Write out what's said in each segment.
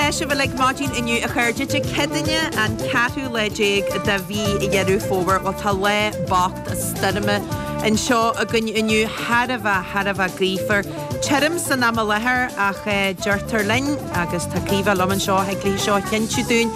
Tá sibh uilig maidin inniu a chairde Dé Céadaoine an ceathrú lá déag de mhí Dheireadh Fómhair. Bhuel tá lá bocht stoirme anseo againn inniu, thar a bheith, thar a bheith gaofar. Tirim san am i láthair ach deirtear linn, agus tá Caoimhe liom anseo, thig léi seo a chinntiú dúinn,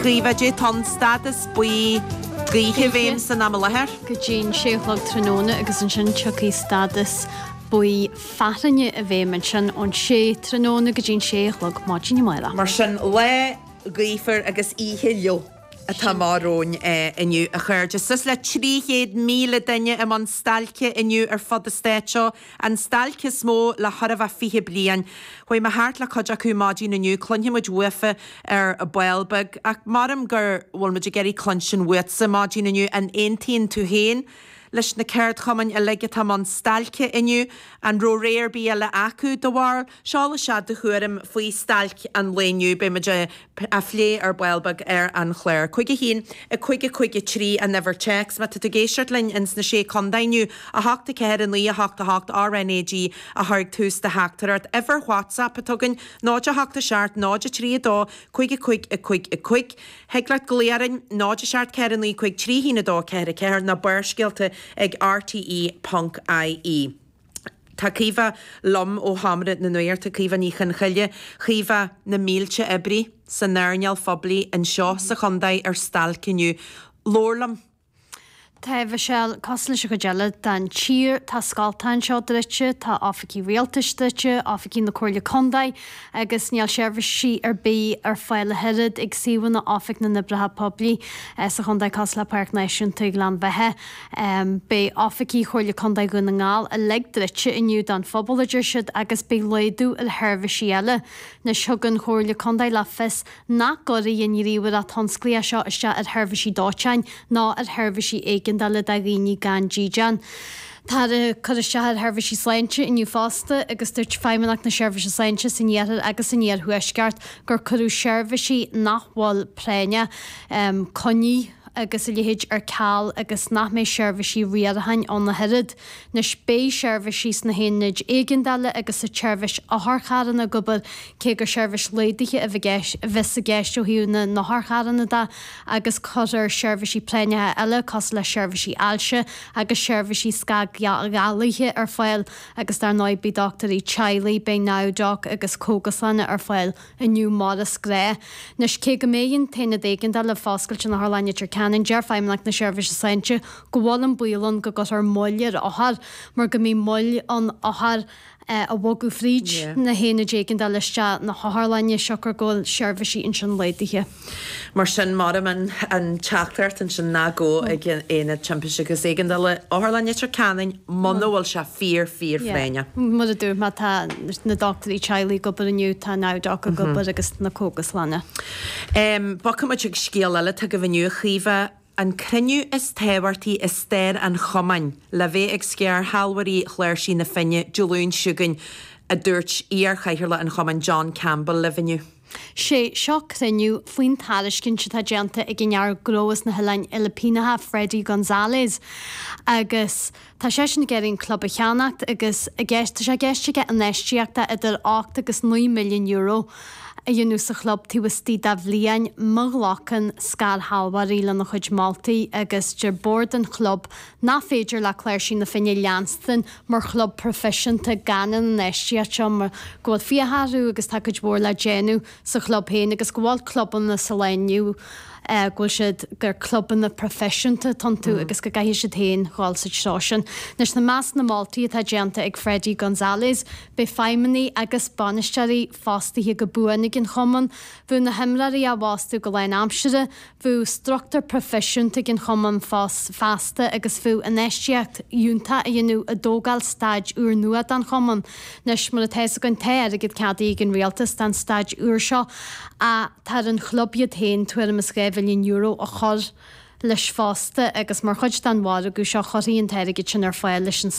Caoimhe, caidé atá an stádas buí gaoithe i bhfeidhm san am i láthair. Go dtí'n sé a chlog tráthnóna agus ansin tiocfaidh stádas buí fearthainne i bhfeidhm ansin ón sé tráthnóna go dtí'n sé a chlog maidin amárach. Mar sin, lá gaofar agus oíche fhliuch atá amach romhainn inniu, a chairde. Suas le 300,000 duine i mbun stailce inniu ar fud an stáit seo, an stailc is mó le chóir a bheith 20 bliain. Chuaigh mé thart le cuid acu maidin inniu, cluinfidh muid uafa ar ball beag, ach maram go bhfuil muid ag iarraidh cluinstin uatsa maidin inniu, an aontaíonn tú féin leis na ceardchumainn uilig atá i mbun stailce inniu? An raibh rogha ar bith eile acu, do bharúil? Seol isteach do thuairim faoi stailc an lae inniu. Beidh muid á phlé ar ball beag ar an chlár. 5 1 5 5 3 an uimhir téacs. Má tá tú ag éisteacht linn ins na Sé Contae inniu, 8 4 9 8 8 RNAG a chur ag tús do theachtaireacht. Uimhir WhatsApp atá againn, 0 8 7 0 3 2 5 5 5 5. Thig leat glaoch orainn, 0 7 4 9 5 3 1 2 4 4 nó Barrscéalta ag rte.ie. Tá Caoimhe liom ó Sheomra na Nuachta, Caoimhe Ní Chonchoille. Caoimhe, na mílte oibrí san earnáil phoiblí anseo sa chontae ar stailc inniu. Labhair liom. Tá, a Mhichelle, cosúil leis an chuid eile den tír, tá scoltacha anseo druidte, tá oifigí rialtais druidte, oifigí na Comhairle Contae agus níl seirbhísí ar bith ar fáil ach oiread ag suíomhanna Oifig na nOibreacha Poiblí sa chontae cosúil le Páirc Náisiúnta Ghleann Bheatha. Beidh oifigí Chomhairle Contae Dhún na nGall uilig druidte inniu don phobal, a deir siad, agus beidh laghdú ar sheirbhísí eile. Anois thug an Chomhairle Contae le fios nach gcuirfidh an ghníomhaireacht thionsclaíoch seo isteach ar sheirbhísí dóiteáin ná ar sheirbhísí éigeandála do dhaoine gan dídean. Táthar ag cur isteach ar sheirbhísí sláinte inniu fosta agus dúirt Feidhmeannacht na Seirbhíse Sláinte san iarthar agus san iarthuaisceart gur cuireadh seirbhísí nach bhfuil práinneach, coinní agus a leithéid ar ceal agus nach mbeidh seirbhísí riaracháin ann ach oiread. Anois beidh seirbhísí sna haonaid éigeandála agus sa tseirbhís otharcharranna ag obair, cé gur seirbhís laghdaithe a bheas i gceist ó thaobh na n-otharcharranna de, agus cuirfear seirbhísí práinneacha eile cosúil le seirbhísí ailse agus seirbhísí scagghalaithe ar fáil agus dar ndóigh beidh dochtúirí teaghlaigh, beidh NowDoc agus cógaslanna ar fáil. inniu mar is gnách. Anois, cé go mbeidh an t-aonad éigeandála foscailte in Otharlann Leitir Ceanainn, deir Feidhmeannacht na Seirbhíse Sláinte go bhfuil an baol ann go gcuirfear moill ar othair mar go mbeidh moill ann othair a bhogadh fríd na haonaid éigeandála isteach na hotharlainne siocair go bhfuil seirbhísí ansin laghdaithe. Mar sin, maram an teachtaireacht ansin ná gabh ag Aonad Timpiste agus Éigeandála Otharlann Leitir Ceanainn muna bhfuil sé fíor, fíor phráinneach. Mar a dúirt mé, tá na dochtúirí teaghlaigh ag obair inniu, tá NowDoc ag obair agus na cógaslanna. Bogfaidh muid chuig scéal eile atá agaibh inniu, a Chaoimhe, an cruinniú is tábhachtaí i stair an chumainn le bheith ag scairshealbhóirí Chláirsigh na Finne Dé Luain seo chugainn, a dúirt iar-chathaoirleach an chumainn John Campbell libh inniu. Sé seo cruinniú faoin tairiscint atá déanta ag an fhear gnó as na hOileáin Fhilipíneacha Freddie Gonzalez agus tá seisean ag iarraidh an club a cheannacht agus i gceist tá sé i gceist aige infheistíocht de idir 8 agus 9 milliún euro a dhéanamh sa chlub taobh istigh de bhliain má ghlacann scairshealbhóirí lena chuid moltaí agus deir bord an chlub nach féidir le Cláirsigh na Finne leanstan mar chlub proifisiúnta gan an infheistíocht seo mar go bhfuil fiacha orthu agus tá cuid mhór le déanamh sa chlub féin agus go bhfuil clubanna sa lá inniu go bhfuil siad gur clubanna proifisiúnta atá iontu agus go gcaithfidh siad féin dhul sa treo sin. Anois i measc na moltaí atá déanta ag Freddie Gonzalez beidh feidhmeannaigh agus bainisteoirí fostaithe go buan ag an chumann, bheadh na himreoirí á bhfostú go lánaimseartha, Bheadh struchtúr proifisiúnta ag an chumann feasta agus bheadh infheistíocht fhiúntach á dhéanamh i dtógáil staid úrnua don chumann. Anois, mar atá fhios againn, tá airgead ceadaithe ag an rialtas don staid úr seo ach tá ar an chlub iad féin tuairim is €2 mhilliún a chur leis fosta agus mar chuid den mhargadh seo chuirfí an t-airgead sin ar fáil leis an.